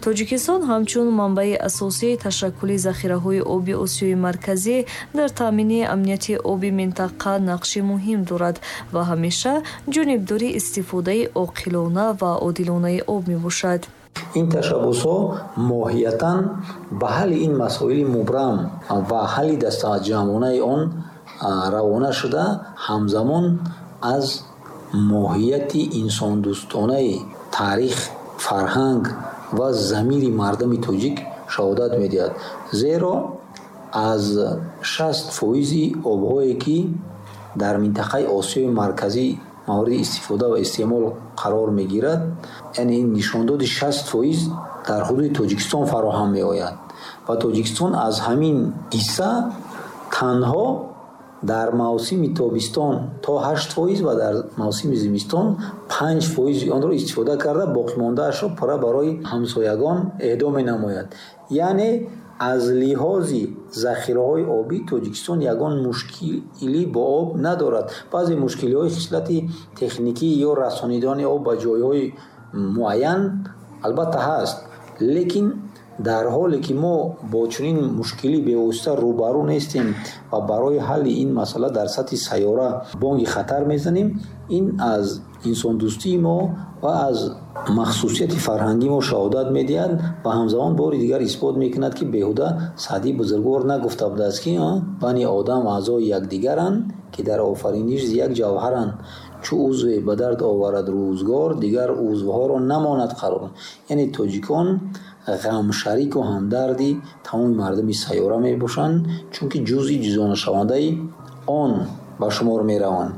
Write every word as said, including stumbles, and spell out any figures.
Тоҷикистон ҳамчун манбаи асосии ташаккули захираҳои оби Осиёи Марказӣ дар таъмини амнияти оби минтақа нақши муҳим дорад ва ҳамеша ҷонибдори истифодаи оқилона ва одилонаи об мебошад. Ин ташаббусҳо моҳиятан ба ҳалли ин масоили мубрам ва ҳалли дастаҷамъонаи он равона шуда, ҳамзамон аз моҳияти инсондӯстонаи таърих, фарҳанг ва замири мардуми тоҷик шаҳодат медиҳад. Зеро аз шаст фоизи обҳое, ки дар минтақаи Осиёи Марказӣ мавриди истифода ва истеъмол қарор мегирад, яъне нишондоди шаст фоиз дар ҳудуди Тоҷикистон фароҳам меояд ва Тоҷикистон аз ҳамин ҳисса танҳо дар мавсими тобистон то ҳашт фоиз ва дар мавсими зимистон панҷ фоизи онро истифода карда, боқимондаашро пурра барои ҳамсоягон эҳдо менамояд. Яъне аз лиҳози захираҳои обӣ Тоҷикистон ягон мушкилӣ бо об надорад. Баъзе мушкилиҳои хислати техникӣ ё расонидани об ба ҷойҳои муайян албатта ҳаст, лекин дар ҳоле ки мо бо чунин мушкилӣ бевосита рӯбарӯ нестем ва барои ҳалли ин масъала дар сатҳи сайёра бонги хатар мезанем, ин аз инсондӯстии мо ва аз махсусияти фарҳангии мо шаҳодат медиҳад ва ҳамзамон бори дигар исбот мекунад, ки беҳуда Саъдии бузургвор нагуфта будааст, ки бани одам аъзои якдигаранд, ки дар офариниш як ҷавҳаранд, чу узве ба дард оварад рӯзгор, дигар узвҳоро намонад қарор. Яъне тоҷикон ғамшарику ҳамдарди тамоми мардуми сайёра мебошанд, чунки ҷузъи ҷузонашавандаи он ба шумор мераванд.